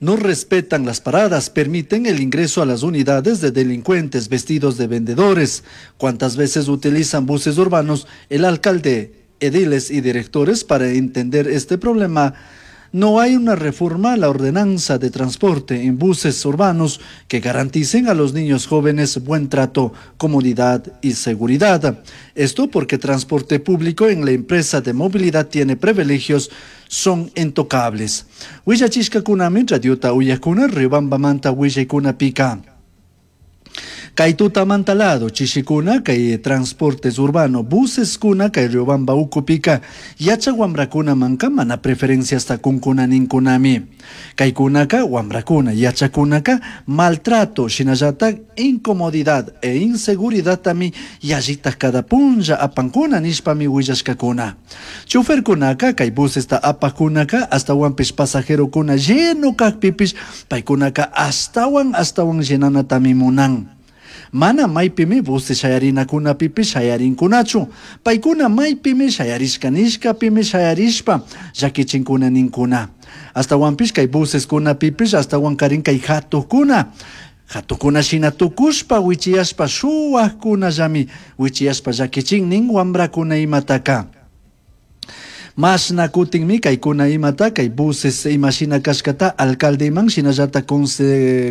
No respetan las paradas, permiten el ingreso a las unidades de delincuentes vestidos de vendedores. ¿Cuántas veces utilizan buses urbanos el alcalde, ediles y directores para entender este problema? No hay una reforma a la ordenanza de transporte en buses urbanos que garanticen a los niños jóvenes buen trato, comodidad y seguridad. Esto porque transporte público en la empresa de movilidad tiene privilegios son intocables. Huillachishcacunami radiota uyacuna Riobambamanta huillaycunapika. Kay tutamanta lado chishikuna kay transportes urbano buseskuna kay Riobamba ukupika yachak wamrakunamanka mana preferenciasta kunkuna ninkunami. Kaykunaka wamrakuna yachakunaka maltrato shinallatak incomodidad e inseguridadtami yallitak cada punlla apankuna nishpami willashkakuna. Choferkunaka kay busesta apakkunaka ashtawanpish pasajerokuna lleno kakpipish paykunaka ashtawan ashtawan llenanatami munan. Mana maypimi buses shayarinakunapipish shayarinkunachu. Paykuna maypimi shayarishka nishkapimi shayarishpa llakichinkuna ninkuna. Ashtawanpish kay buseskunapipish ashtawankarin kay hatukuna. Hatukuna shina tukushpa wichiyashpa shuwakkunallami wichiyashpa llakichin nin wambrakuna imataka. Mashna kutinmi kaykuna imata kay buses imashina kashkata alcaldeman shinallata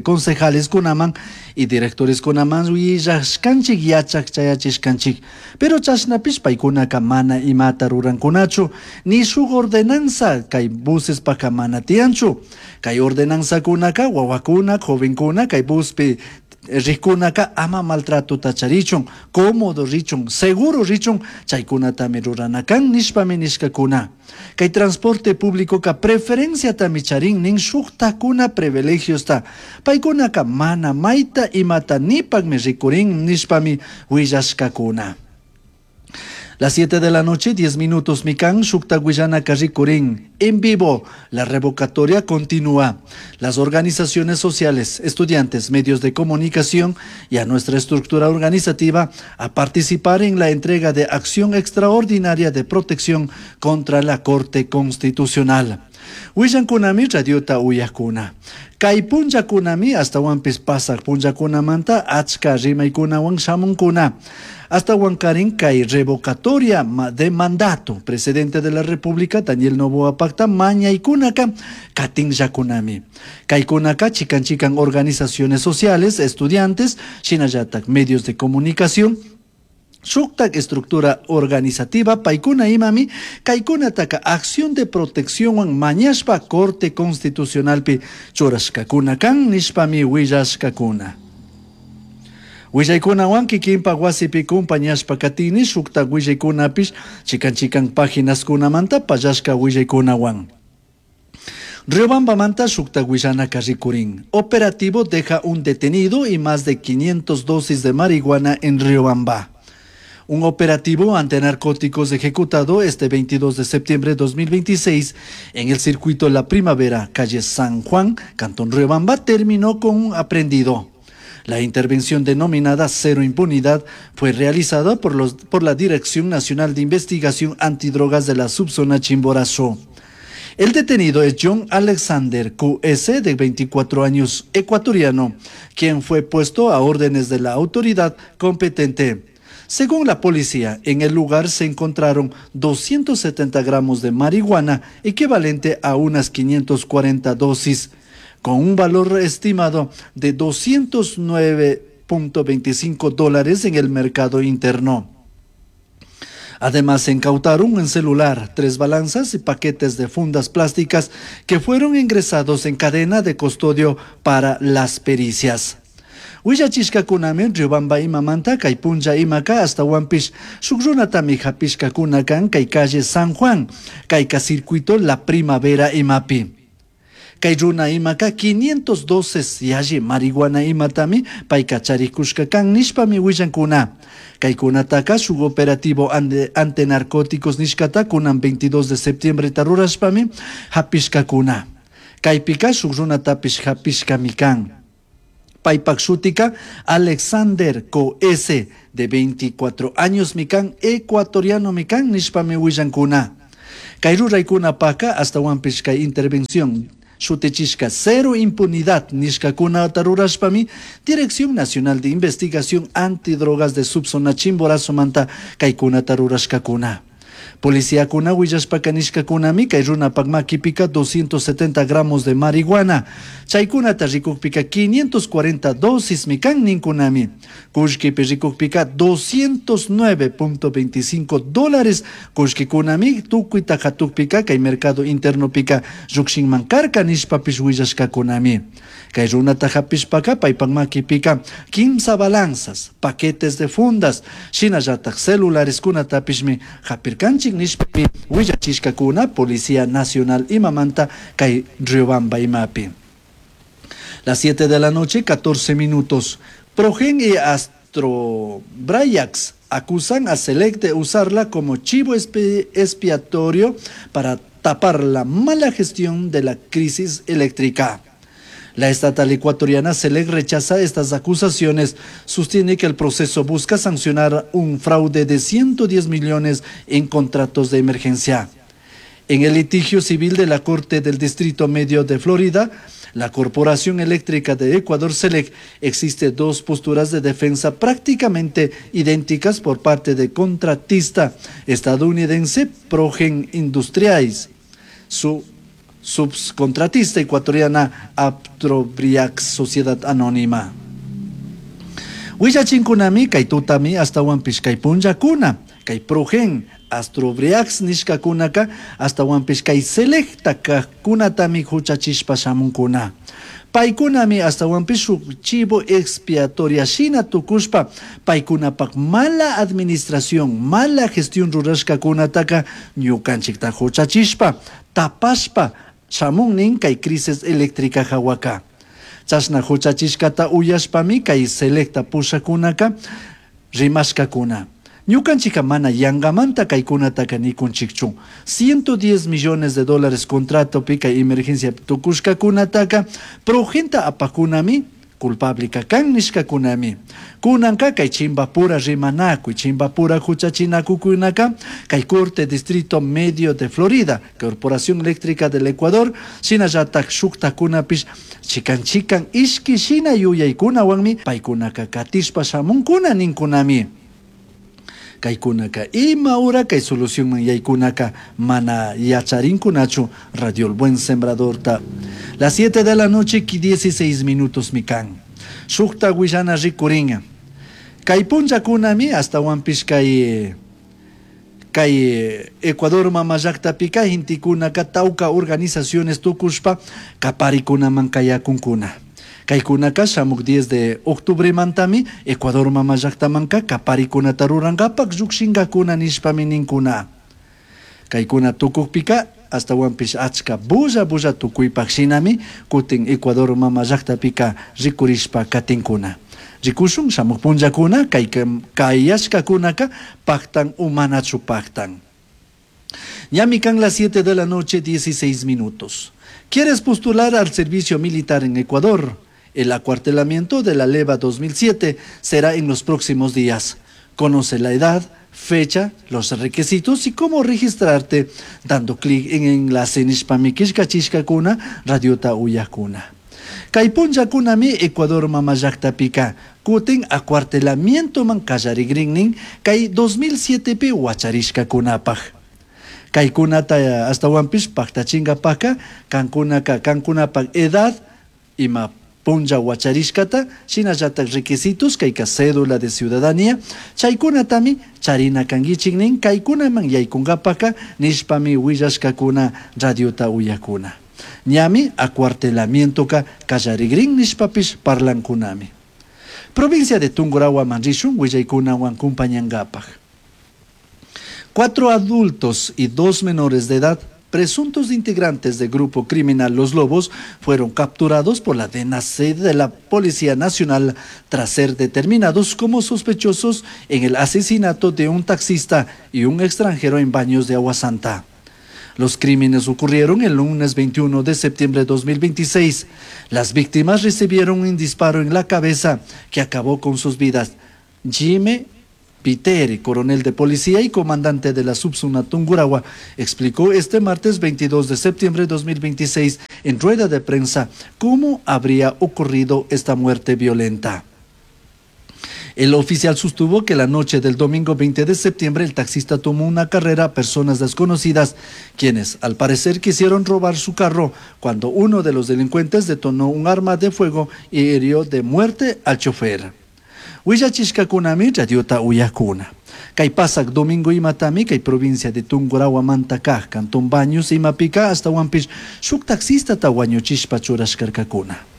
concejaleskunaman y directoreskunaman willashkanchik yachak chayachishkanchik. Pero chashnapish paykunaka mana imata rurankunachu ni shuk ordenanza kay busespaka mana tiyanchu. Kay ordenanzakunaka wawakuna jovenkuna kay buspi rikunaka ama maltratota charichun, cómodo richun, seguro richun, chaykunatami rurana kan nishpami nishkakuna. Kay transporte público ka preferenciatami charin nin shuktakuna privilegiosta. Paykunaka mana mayta imata nipakmi rikurin nishpami willashkakuna. Las 7 de la noche, 10 minutos, Mikan, Shukta Guillana Karrikurín. En vivo, la revocatoria continúa. Las organizaciones sociales, estudiantes, medios de comunicación y a nuestra estructura organizativa a participar en la entrega de acción extraordinaria de protección contra la Corte Constitucional. Willankunami radiota uyakuna. Kay punllakunami ashtawanpish pasak punllakunamanta achka rimaykunawan shamunkuna. Ashtawankarin kay revocatoria de mandato. Presidente de la República, Daniel Noboa Pacta, mañaykunaka katinllakunami. Kaykunaka chikan chikan organizaciones sociales, estudiantes, shinallatak medios de comunicación, shuktak estructura organizativa paykuna imami kaykunataka acción de protección mañashpa Corte Constitucionalpi churashkakuna kan nishpami willashkakuna. Willaykunawan kikinpak wasipi kumpañashpa katini shuktak willaykunapish chikan chikan paginaskunamanta pallashka willaykunawan. Riobambamanta shuktak willanaka rikurin. Operativo deja un detenido y más de 500 dosis de marihuana en Riobamba. Un operativo antinarcóticos ejecutado este 22 de septiembre de 2026 en el circuito La Primavera, calle San Juan, Cantón Riobamba, terminó con un aprehendido. La intervención denominada Cero Impunidad fue realizada por la Dirección Nacional de Investigación Antidrogas de la subzona Chimborazo. El detenido es John Alexander QS, de 24 años, ecuatoriano, quien fue puesto a órdenes de la autoridad competente. Según la policía, en el lugar se encontraron 270 gramos de marihuana, equivalente a unas 540 dosis, con un valor estimado de 209.25 dólares en el mercado interno. Además, se incautaron un celular, 3 balanzas y paquetes de fundas plásticas que fueron ingresados en cadena de custodio para las pericias. Willachishkakunami Riobamba imamanta kay punlla imaka ashtawanpish shuk runatami hapishkakuna kan kay calle San Juan, kayka circuito La Primavera imapi. Kay runa imaka 512 yalli marihuana imatami payka charikushka kan nishpami willankuna. Kaykunataka shuk operativo antinarcóticos nishkata kunan 22 de septiembre tarurashpami hapishkakuna. Kaypika shuk runatapish hapishkami kan. Paypak shutika Alexander Co S, de 24 años mikan, ecuatoriano mikan, nishpami willankuna. Kay ruraykuna paka ashtawanpish kay intervención. Shutichishka Cero Impunidad nishkakunata rurashpami Dirección Nacional de Investigación Antidrogas de Subzona Chimborazomanta kaykunata rurashkakuna. Policiakuna willashpaka nishkakunami kay runapak makipika 270 gramos de marihuana. Chaykunata rikukpika 540 dosis kan ninkunami. Kullkipi rikukpika 209.25 dólares kullkikunami tukuyta hatukpika kay mercado internopika llukshinman karka nishpapish willashkakunami. Kay runata hapishpaka paypak makipika kimsa balanzas, paquetes de fundas, shinallatak celulareskunatapishmi hapirkanchik nishpami willachishkakuna Policía Nacional imamanta kay Riobamba imapi. Las 7 de la noche, 14 minutos. Progen y Astrobrayax acusan a Select de usarla como chivo expiatorio para tapar la mala gestión de la crisis eléctrica. La estatal ecuatoriana Select rechaza estas acusaciones. Sostiene que el proceso busca sancionar un fraude de 110 millones en contratos de emergencia. En el litigio civil de la Corte del Distrito Medio de Florida, la Corporación Eléctrica de Ecuador, SELEC, existe dos posturas de defensa prácticamente idénticas por parte de contratista estadounidense Progen Industriais, su subcontratista ecuatoriana Aptrobriax Sociedad Anónima. Willachinkunami kay tutami ashtawanpish kay punllakuna, kay Progen, Astrobriax nishkakunaka ashtawanpish kay Selecta kajkunatami huchachishpa shamunkuna. Paykunami ashtawanpish shuk chivo expiatoria shina tukushpa paykunapak mala administración, mala gestión rurashkakunataka ñukanchikta huchachishpa, tapashpa shamunnin kay crisis eléctrica hawaka. Chashna huchachishkata uyashpami kay Selecta pushakunaka rimashkakuna. Ñukanchika mana yangamanta kaykunataka nikunchikchu. 110 millones de dólares contrato kay emergencia tukushkakunataka Progenta apakunami culpable kan nishkakunami. Kunanka kay chimbapura rimanakuy, chimbapura huchachinakukunaka kay Corte Distrito Medio de Florida, Corporación Eléctrica del Ecuador, shinallatak shuktakunapish chikan chikan ishki shina yuyaykunawanmi paykunaka katishpa shamunkuna ninkunami. Kaykunaka ima hora kay solucionman yaykunaka mana yacharinkunachu. Radio El Buen Sembrador ta. Las 7 de la noche 16 minutos mikan. Shukta willana rikuringa. Kay punllakunami ashtawanpish kay kay Ecuador mama llaktapika intikunaka tawka organizaciones tukushpa kaparikunaman kayakunkuna. Kaykunaka shamuk 10 de octubre mantami Ecuador mama llaktamanka kaparikunata rurankapak llukshinkakuna nishpami ninkuna. Kaykuna tukukpika ashtawanpish achka bulla bulla tukuypak shinami kutin Ecuador mama llaktapika rikurishpa katinkuna. Rikushun shamuk punllakuna kay kayashkakunaka paktan umanachu paktan. Ñami kan las 7 de la noche 16 minutos. ¿Quieres postular al servicio militar en Ecuador? El acuartelamiento de la LEVA 2007 será en los próximos días. Conoce la edad, fecha, los requisitos y cómo registrarte dando clic en enlace nishpami killkachishkakuna radiota uyakuna. Kay punllakunami Ecuador mama llaktapika kutin acuartelamientoman kallarigrinnin kay 2007pi wacharishkakunapaj. Kaykunata ashtawanpish paktachingapaka kankunaka kankunapak edad ima punlla wacharishkata shinallatak requisitos kayka cédula de ciudadanía chaykunatami charina kankichik kaykunaman yaykunkapaka nishpami willashkakuna radiota uyakuna. Ñami acuartelamientoka kallarigrin nishpapish parlankunami. Provincia de Tungurahua rishun willaykunawan kumpañankapaj. 4 adultos y 2 menores de edad, presuntos integrantes del grupo criminal Los Lobos, fueron capturados por la DNAC de la Policía Nacional tras ser determinados como sospechosos en el asesinato de un taxista y un extranjero en Baños de Agua Santa. Los crímenes ocurrieron el lunes 21 de septiembre de 2026. Las víctimas recibieron un disparo en la cabeza que acabó con sus vidas. Jimmy Viteri, coronel de policía y comandante de la subzona Tungurahua, explicó este martes 22 de septiembre de 2026 en rueda de prensa cómo habría ocurrido esta muerte violenta. El oficial sostuvo que la noche del domingo 20 de septiembre el taxista tomó una carrera a personas desconocidas, quienes al parecer quisieron robar su carro cuando uno de los delincuentes detonó un arma de fuego y hirió de muerte al chofer. Willachishkakunami radiota uyakuna. Kay pasak domingo imatami kay provincia de Tungurahua manta kaj cantón Baños imapika ashtawanpish shuk taxistata wañuchishpa churashkarkakuna.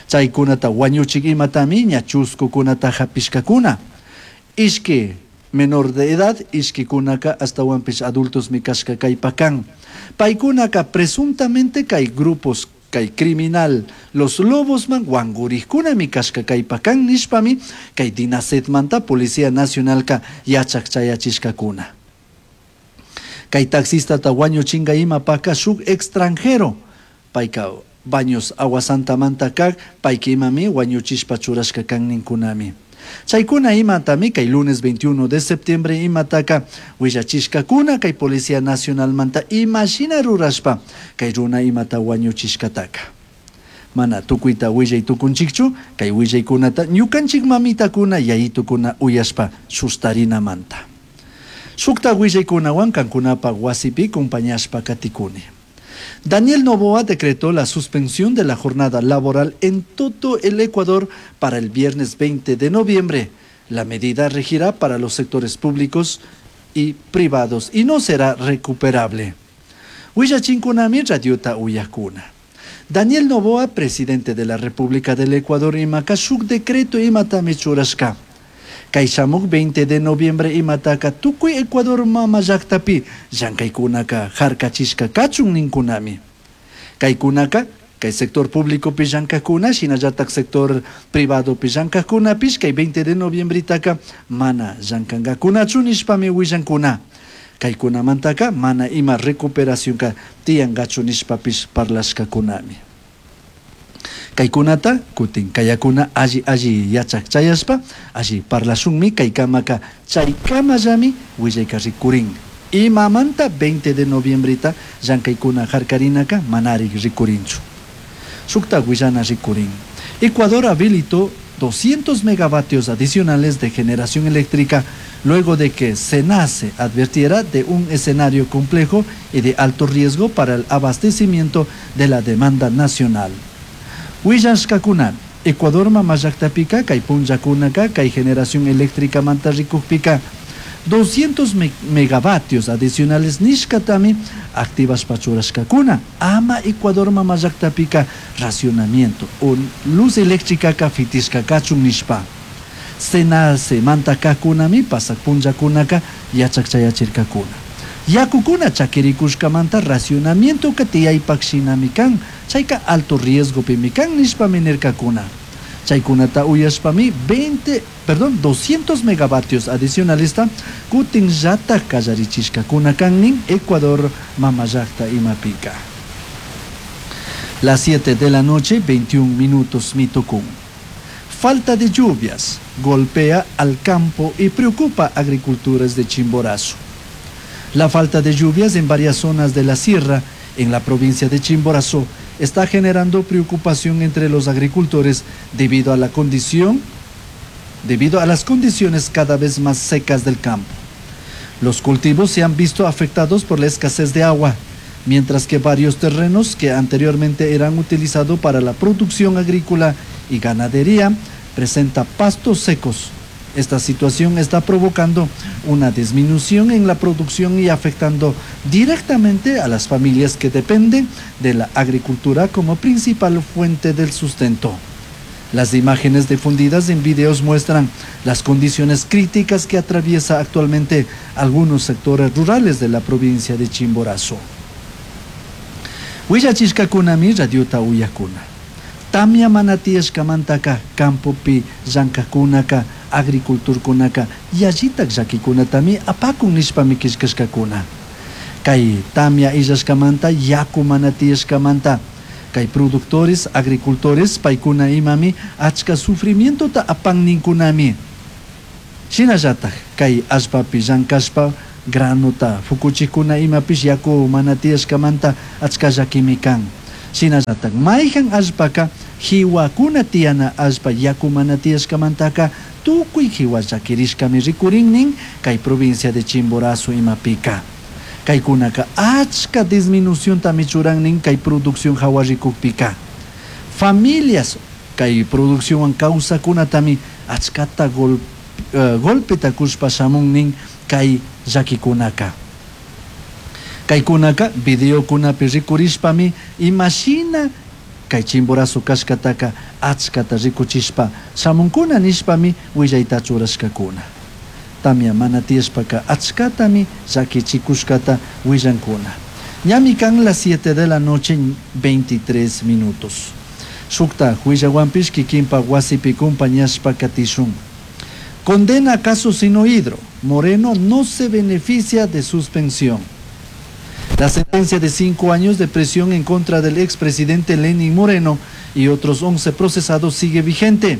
Chaykunata wañuchik imatami ña chuskukunata hapishkakuna. Ishki menor de edad, ishkikunaka ashtawanpish adultos kashka kaypakan. Paykunaka presuntamente kay grupos kay criminal Los Lobosman wankurikunami kashka kaypakan nishpami kay Dinasedmanta Policía Nacionalka yachak chayachishkakuna. Kay taxistata wañuchinga imapaka shuk extranjero payka Baños Aguasantamanta kak payka imami wañuchishpa churashka kan ninkunami. Chaykuna imatami kay lunes 21 de septiembre imataka willachishkakuna kay Policía Nacionalmanta imashina rurashpa kay runa imata wañuchishkataka. Mana tukuyta willay tukunchikchu kay willaykunata ñukanchik mamitakuna yayitukuna uyashpa sustarinamanta. Shukta willaykunawan kankunapa wasipi compañashpa katikuni. Daniel Noboa decretó la suspensión de la jornada laboral en todo el Ecuador para el viernes 20 de noviembre. La medida regirá para los sectores públicos y privados y no será recuperable. Willachinkunami radiota uyakuna. Daniel Noboa, presidente de la República del Ecuador, imaka shuk decreto imatami churashka. Kay shamuk 20 de noviembre imataka tukuy Ecuador mama llaktapi llankaykunaka harkachishka kachun ninkunami. Kaykunaka kay sector público pi llankakuna shinallatak sector privado pi llankakkunapish kay 20 de noviembretaka mana llankankakunachu nishpami willankuna. Kaykunamantaka mana ima recuperacionka tiyankachu nishpapish parlashkakunami. Kaykunata kutin kayakuna alli alli yachak chayashpa alli parlashunmi kaykamaka chaykamallami willayka rikurin. Imamanta 20 de noviembreta llankaykuna harkarinaka manarik rikurinchu. Shukta willana rikurin. Ecuador habilitó 200 megavatios adicionales de generación eléctrica luego de que CENACE advirtiera de un escenario complejo y de alto riesgo para el abastecimiento de la demanda nacional. Willashkakuna, Ecuador mama llaktapika, kay punllakunaka, kay generación eléctrica manta rikukpika, 200 megavatios adicionales nishkatami activashpa churashkakuna. Ama Ecuador mama llaktapika racionamiento o luz eléctrica fitishka kachun nishpa. CENACE manta kakunami pasak punllakunaka yachak chayachirkakuna. Yakukuna chakirikushkamanta racionamiento ka tiyaypak shinami kan, chayka alto riesgo pimi kan nishpami nirkakuna. Chaykunata uyashpami 200 megavatios adicionalesta kutin llata kallarichishkakuna kan nin Ecuador mama llakta imapika. Las 7 de la noche, 21 minutos mitokun. Falta de lluvias golpea al campo y preocupa a agricultores de Chimborazo. La falta de lluvias en varias zonas de la sierra, en la provincia de Chimborazo, está generando preocupación entre los agricultores debido a las condiciones cada vez más secas del campo. Los cultivos se han visto afectados por la escasez de agua, mientras que varios terrenos que anteriormente eran utilizados para la producción agrícola y ganadería presentan pastos secos. Esta situación está provocando una disminución en la producción y afectando directamente a las familias que dependen de la agricultura como principal fuente del sustento. Las imágenes difundidas en videos muestran las condiciones críticas que atraviesa actualmente algunos sectores rurales de la provincia de Chimborazo. Willachishkakunami radiota uyakuna. Tamya mana tiyashkamantaka campopi llankakunaka agriculturkunaka yallitak llakikunatami apakun nishpami killkashkakuna. Kay tamya illashkamanta yaku mana tiyashkamanta kay productores, agricultores paykuna imami achka sufrimientota apan ninkunami. Shinallataj kay allpapi llankashpa granota fukuchikuna imapish yaku mana tiyashkamanta achka llakimi kan. Shinallataj mayhan allpaka jiwakuna tiyana allpa yaku mana tiyashkamantaka tukuy jiwa llakirishkami rikurin nin kay provincia de Chimborazo imapika. Kaykunaka achka disminuciontami churan nin kay producción hawa rikukpika. Familias kay produccionwan kawsakunatami achkata golpeta kushpa shamun nin kay llakikunaka. Kaykunaka videokunapi rikurishpami imashina kay Chimborazo kashkataka achkata rikuchishpa shamunkuna nishpami willayta churashkakuna. Tamia mana tiyashpaka achkatami llakichikushkata willankuna. Ñami kan las 7 de la noche 23 minutos. Shukta willawanpish kikinpa wasipi compañashpa katishun. Condena caso Sinohidro. Moreno no se beneficia de suspensión. La sentencia de 5 años de prisión en contra del expresidente Lenín Moreno y otros 11 procesados sigue vigente.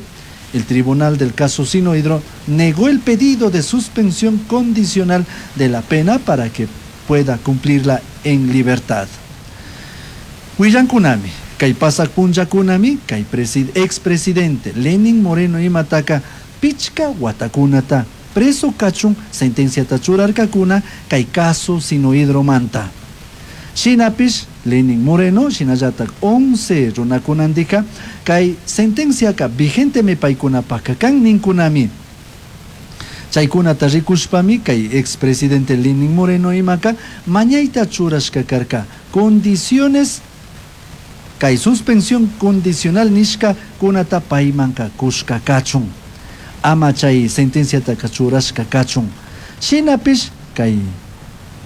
El tribunal del caso Sinohidro negó el pedido de suspensión condicional de la pena para que pueda cumplirla en libertad. Willankunami, kay pasak punllakunami, kay expresidente Lenín Moreno imataka pichka watakunata preso kachun sentenciata churarkakuna kay caso Sinohidro manta. Shinapish Lenín Moreno shinallatak 11 runakunandika kay sentenciaka vigentemi paykunapaka kan ninkunami. Chaykunata rikushpami kay expresidente Lenín Moreno imaka mañayta churashka karka condiciones kay suspensión condicional nishka kunata paymanka kushka kachun. Ama chay sentenciataka churashka kachun. Shinapish kay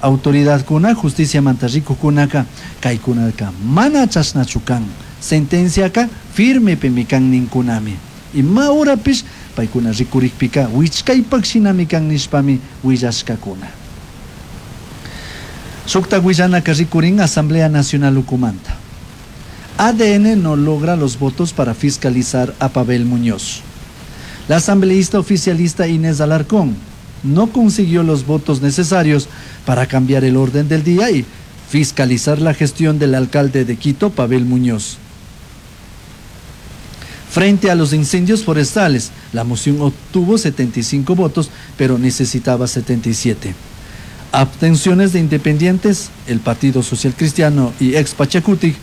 autoridadkuna justiciamanta rikukunaka kaykunaka mana chashnachu kan. Sentenciaka firmepimi kan ninkunami. Ima horapish paykuna rikurikpika wichkaypak shinami kan nishpami willashkakuna. Shukta willanaka rikurin Asamblea Nacional ukumanta. ADN no logra los votos para fiscalizar a Pavel Muñoz. La asambleísta oficialista Inés Alarcón no consiguió los votos necesarios para cambiar el orden del día y fiscalizar la gestión del alcalde de Quito, Pavel Muñoz. Frente a los incendios forestales, la moción obtuvo 75 votos, pero necesitaba 77. Abstenciones de independientes, el Partido Social Cristiano y ex Pachakutik,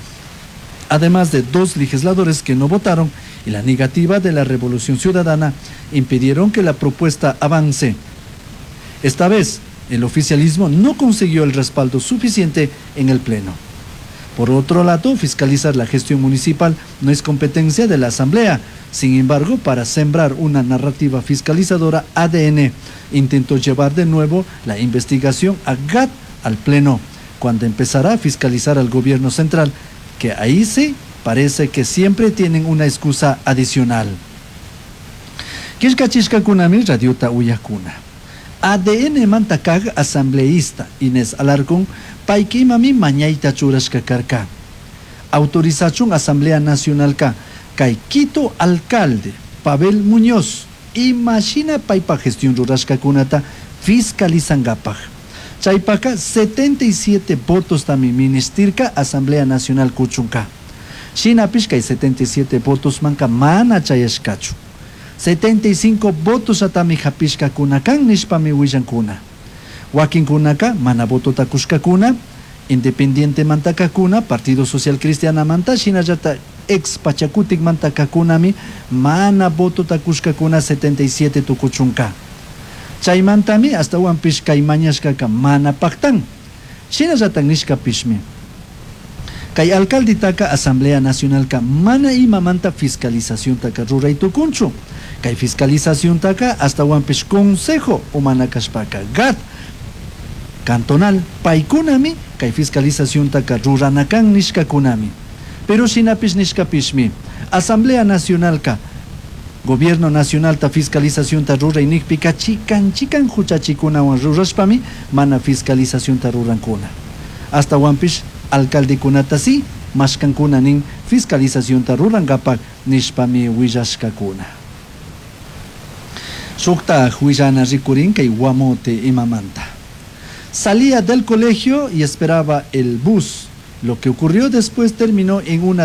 además de 2 legisladores que no votaron, y la negativa de la Revolución Ciudadana impidieron que la propuesta avance. Esta vez, el oficialismo no consiguió el respaldo suficiente en el Pleno. Por otro lado, fiscalizar la gestión municipal no es competencia de la Asamblea. Sin embargo, para sembrar una narrativa fiscalizadora, ADN intentó llevar de nuevo la investigación a GAD al Pleno, cuando empezará a fiscalizar al gobierno central, que ahí sí parece que siempre tienen una excusa adicional. Kishkachishkakunami radiota uyakuna. ADN mantakag asambleísta Inés Alarcón paykimami mañayta churashka karka. Autorizachun Asamblea Nacional ka kay Quito alcalde Pavel Muñoz imagina paypa gestión rurashkakunata fiscalizangapaj. Chaypaka 77 votos tami ministirka Asamblea Nacional kuchunka. Shinapish kay 77 votos manka mana chayashkachu. 75 votos atami hapishkakuna kan nishpami willankuna. Wakinkunaka mana votota kushkakuna, Independiente mantakakuna, Partido Social Cristiana manta, shinallata ex Pachakutik mantakakunami mana votota kushkakuna 77 tukuchunka. Chaymantami astawanpish kay mañashkaka mana paktan. Shinallata nishkapishmi. Kay alcalditaka Asamblea Nacionalka mana imamanta fiscalizacióntaka ruray tukunchu. Kay fiscalizacióntaka astawanpish Consejo umana kashpaka GAD cantonal paykunami kay fiscalizacióntaka ruranakan nishkakunami. Pero shinapish nishkapishmi Asamblea Nacionalka Gobierno Nacionalta fiscalizaciónta ruray nikpika chikan chikan huchachikunawan rurashpami mana fiscalizaciónta rurankuna. Astawanpish alcaldekunata sí mashkankuna nin fiscalizaciónta rurankapak nishpami willashkakuna. Shuktaj huillana rikurin kay Guamote imamanta. Salía del colegio y esperaba el bus. Lo que ocurrió después terminó en una.